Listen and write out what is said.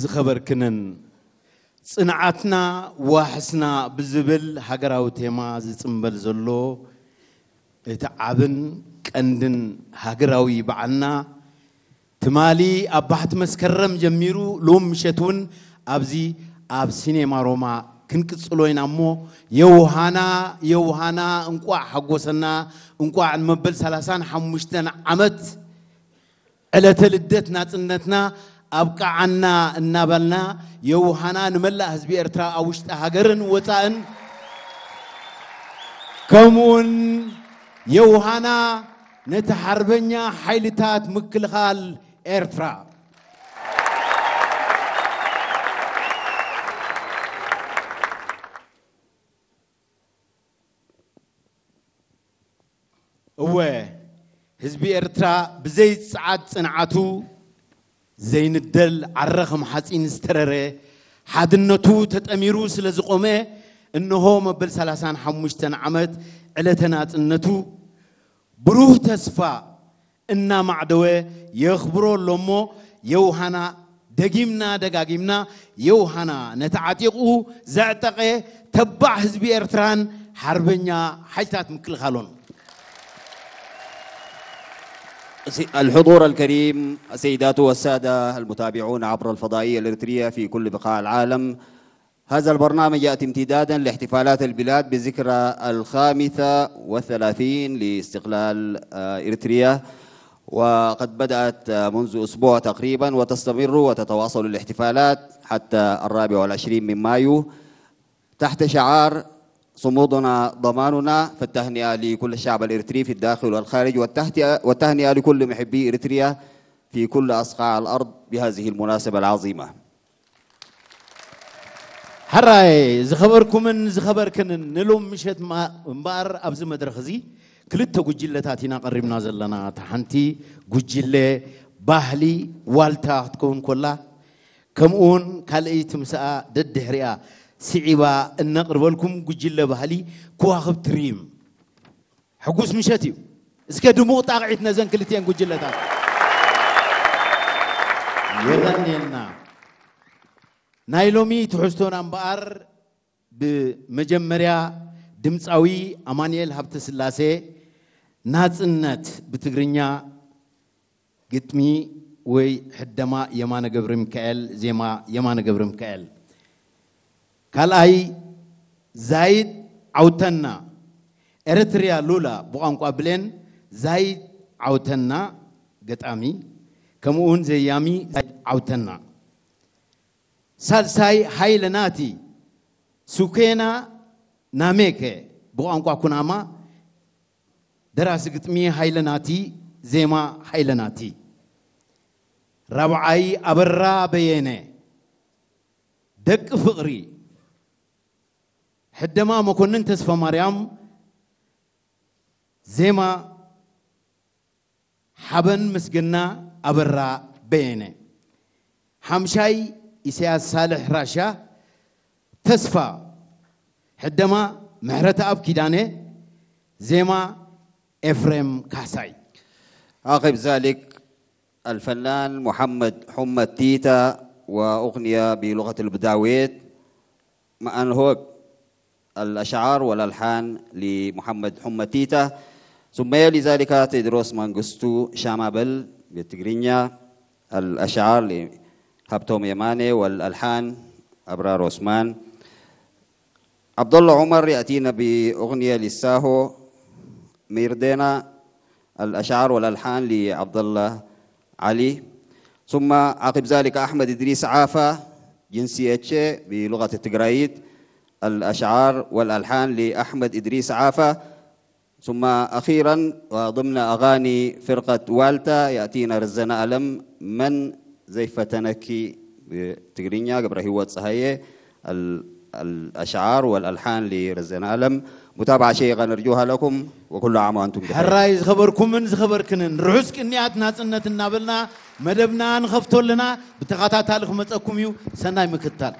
ዝኸበርክንን ጽንዓትና ዋሕስና ብዝብል ሃገራዊ ቴማ ዝጽንበል ዘሎ እቲ ዓብን ቀንድን ሃገራዊ በዓልና ትማሊ ኣብ ባሕቲ መስከረም ጀሚሩ ሎም ምሸት እውን ኣብዚ ኣብ ሲኔማ ሮማ ክንቅጽሎ ኢና እሞ የውሃና የውሃና እንቋዕ ሓጎሰና እንቋዕ ንመበል ሰላሳን ሓሙሽተን ዓመት ዕለተ ልደት ናጽነትና ኣብቃዓና እናበልና የውሃና ንመላእ ህዝቢ ኤርትራ ኣብ ውሽጢ ሃገርን ወጻእን ከምኡውን የውሃና ነቲ ሓርበኛ ሓይልታት ምክልኻል ኤርትራ። እወ ህዝቢ ኤርትራ ብዘይ ጸዓት ጽንዓቱ ዘይንደል ዓረ ከም ሓጺን ዝተረረ ሓድነቱ ተጠሚሩ ስለ ዝቖመ እንሆ መበል ሰላሳን ሓሙሽተን ዓመት ዕለተ ናጽነቱ ብሩህ ተስፋ እናማዕደወ የኽብሮ ኣሎ እሞ የውሃና ደጊምና ደጋጊምና የውሃና ነቲ ዓጢቑ ዘዕጠቐ ተባዕ ህዝቢ ኤርትራን ሓርበኛ ሓይልታት ምክልኻሎን። الحضور الكريم، السيدات والسادة المتابعون عبر الفضائية الإريترية في كل بقاع العالم، هذا البرنامج يأتي امتدادا لاحتفالات البلاد بذكرى الخامسة والثلاثين لاستقلال إريتريا، وقد بدأت منذ أسبوع تقريبا وتستمر وتتواصل الاحتفالات حتى الرابع والعشرين من مايو تحت شعار صمودنا ضماننا. فالتهنئة لكل الشعب الإريتري في الداخل والخارج، والتهنئة لكل محبي إريتريا في كل أصقاع الأرض بهذه المناسبة العظيمة. ሕራይ ዝኸበርኩምን ዝኸበርክንን ንሎም ምሸት እምበኣር ኣብዚ መድረኽ እዚ ክልተ ጉጅለታት ኢና ቀሪብና ዘለና። እታ ሓንቲ ጉጅለ ባህሊ ዋልታ ክትከውን ኮላ ከምኡውን ካልእይቲ ምስኣ ደድሕሪኣ ስዒባ እነቕርበልኩም ጉጅለ ባህሊ ከዋኽብቲ ሪም። ሕጉስ ምሸት እዩ። እስከ ድሙቕ ጣቕዒት ነዘን ክልቲኤን ጉጅለታት። የቐንየልና። ናይ ሎሚ ትሕዝቶና እምበኣር ብመጀመርያ ድምፃዊ ኣማኑኤል ሃብተስላሴ ናፅነት ብትግርኛ ግጥሚ ወይ ሕደማ የማነ ገብረሚካኤል፣ ዜማ የማነ ገብረሚካኤል። ካልኣይ ዛይድ ዓውተና ኤረትርያ ሉላ ብቋንቋ ብሌን ዛይድ ዓውተና ገጣሚ ከምኡውን ዘያሚ ዛይድ ዓውተና። ሳልሳይ ሃይለ ናቲ ሱኬና ናሜከ ብቋንቋ ኩናማ ደራሲ ግጥሚ ሃይለ ናቲ ዜማ ሃይለ ናቲ። ራብዓይ ኣበራ በየነ ደቂ ፍቕሪ ሕደማ መኮንን ተስፋማርያም ዜማ ሓበን ምስግና ኣበራ በየነ። ሓምሻይ ኢሳያስ ሳልሕ ራሻ ተስፋ ሕደማ ምሕረተኣብ ኪዳነ ዜማ ኤፍሬም ካሕሳይ። عقب ذلك الفنان محمد حمد تيتا وأغنية بلغة البداويت مأنهوك الأشعار والألحان لمحمد حمد تيتا ثم يلي ذلك تدروس مانغستو شامابل بالتقرينيا الأشعار لهبتوم يماني والألحان أبرار عثمان. عبد الله عمر يأتينا بأغنية للساهو ميردينا الأشعار والألحان لعبد الله علي. ثم عقب ذلك أحمد إدريس عافا جنسي اتشي بلغة التقرايد الأشعار والألحان لأحمد إدريس عافا. ثم أخيرا وضمن أغاني فرقة والتا يأتينا رزنا ألم من زي فتنكي بتقرينيا قبر هو صحية الأشعار والألحان لرزنا ألم. متابعة شيقة نرجوها لكم وكل عام وأنتم بخير. ሕራይ ዝኸበርኩምን ዝኸበርክንን ርሑስ ቅንያት ናጽነት እናበልና መደብና ንኸፍቶ ኣለና። ብተኸታታሊ ክመጸኩም እዩ። ሰናይ ምክትታል።